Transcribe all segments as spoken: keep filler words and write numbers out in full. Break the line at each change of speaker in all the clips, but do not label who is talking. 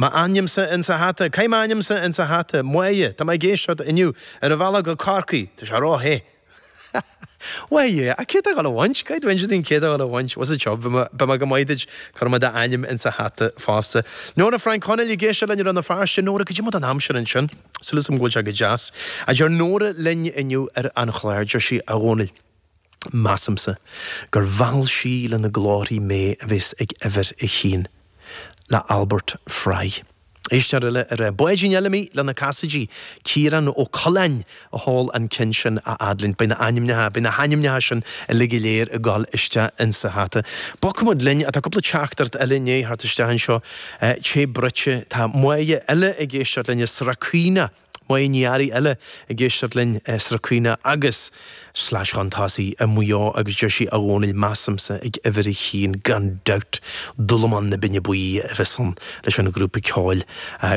M'ainmse insa hata, Caith m'ainmse insa hata, Máire, tá mé ag éisteacht inniu ar an bhealach go Corcaigh, tá sé ró-the. Bhuel yeah, ach céard atá ag dul a bhaint? Caithfidh tú inse dúinn céard atá ag dul a bhaint. What's the job? Beidh mé go maith duit, cuirfidh mé d'ainm insa hata fosta. Nóra Frank Chonaill ag éisteacht linn i Rann na Feirste. Nóra, cad é mar atá an aimsir ansin? Súil agam go bhfuil sé go deas. A deir Nóra linn inniu ar an chlár, deir sí, a Dhónaill, measaimse gur mheall sí lena glórthaí mé a bheas ag uimhir a haon. Le Albert Fry. Éisteoir eile ar Báidín eile mé le na Casaidigh, Ciarán Ó Coileáin a sheol an ceann sin a fhad linn. Beidh na ainmneacha, beidh na hainmneacha sin uilig go léir ag dul isteach insa hata. Bogfaidh muid linn, tá cúpla teachtaireacht eile i ndiaidh theacht isteach anseo. Té bruite, tá Máire eile ag éisteacht linn i Srath Caoine. Máire Ní Fhearraigh eile ag éisteacht linn i Srath Caoine agus slais chun tosaigh i Maigh Eo agus deir sí a Dhónaill measaimse ag uimhir a haon gan dabht Dúlamán na Binne Buí a bheas ann leis an ghrúpa ceoil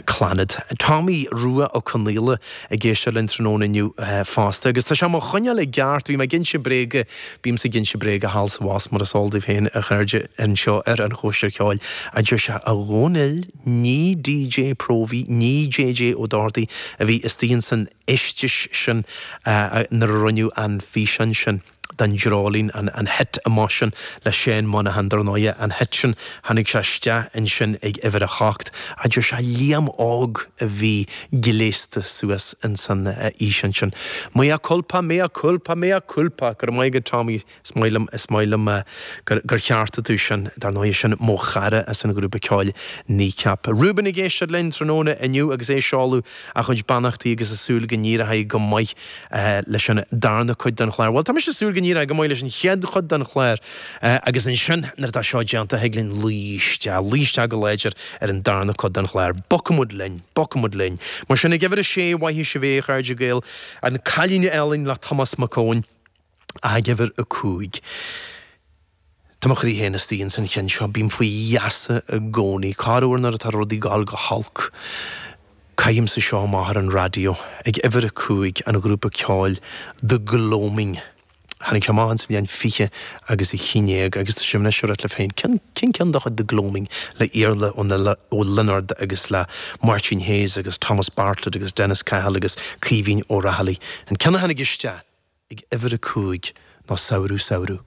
Clannad. Tommy Rua Ó Conaola ag éisteacht linn tráthnóna inniu fosta agus tá sé mo choinneáil i gceart, bhí mé ag inse bréige, bímse ag inse bréige thall is abhus mar is eol daoibh féin a chairde anseo ar an Chóisir Cheoil a deir sé a Dhónaill ní DJ Próvaí, ní JJ Ó Dochartaigh a bhí istigh san fheisteas sin nuair a rinneadh an físeán sin den dreoilín an an hit amach sin le Seán Monaghan dar ndóigh an hit sin tháinig sé isteach ansin ag uimhir a hocht a deir sé Liam Óg a bhí gléasta suas insan fhíseán sin. Mea culpa, mea culpa, mea culpa, go raibh maith agat Tommy, is maith liom is maith liom gur gur cheartaigh tú sin dar ndóigh sin mo chara as an ghrúpa ceoil Kneecap. Reuben ag éisteacht linn tráthnóna inniu agus é ag seoladh a chuid beannachtaí agus ag súil go n-éireoidh go maith leis an darna cuid den chlár. Bhuel tá mise ag súil go n-éireoidh go maith leis an chéad chuid den chlár agus ansin nuair atá seo déanta thig linn luí isteach, luí isteach go láidir ar an darna cuid den chlár. Bogfaidh muid linn, bogfaidh muid linn. Mar sin ag uimhir a sé mhaith sibh é a chairde Gael an Cailín Álainn le Tomás Mac Eoin ag uimhir a cúig. Tá mo chroí féin istigh ins an cheann seo, bím faoi gheasa i gcónaí, corruair nuair atá rudaí ag dul go holc. Caithimse seo amach ar an raidió ag uimhir a cúig an ghrúpa ceoil The Gloaming. Tháinig sé amach sa bhliain fiche agus a haon déag agus tá sé anois ar le féin cén ceann de chuid The Gloaming le Iarla Ó Lionáird agus le Máirtín Hayes agus Thomas Bartlett agus Dennis Cahill agus Caoimhín Ó Raghallaigh. An ceann a tháinig isteach ag uimhir a cúig ná Samhradh Samhradh.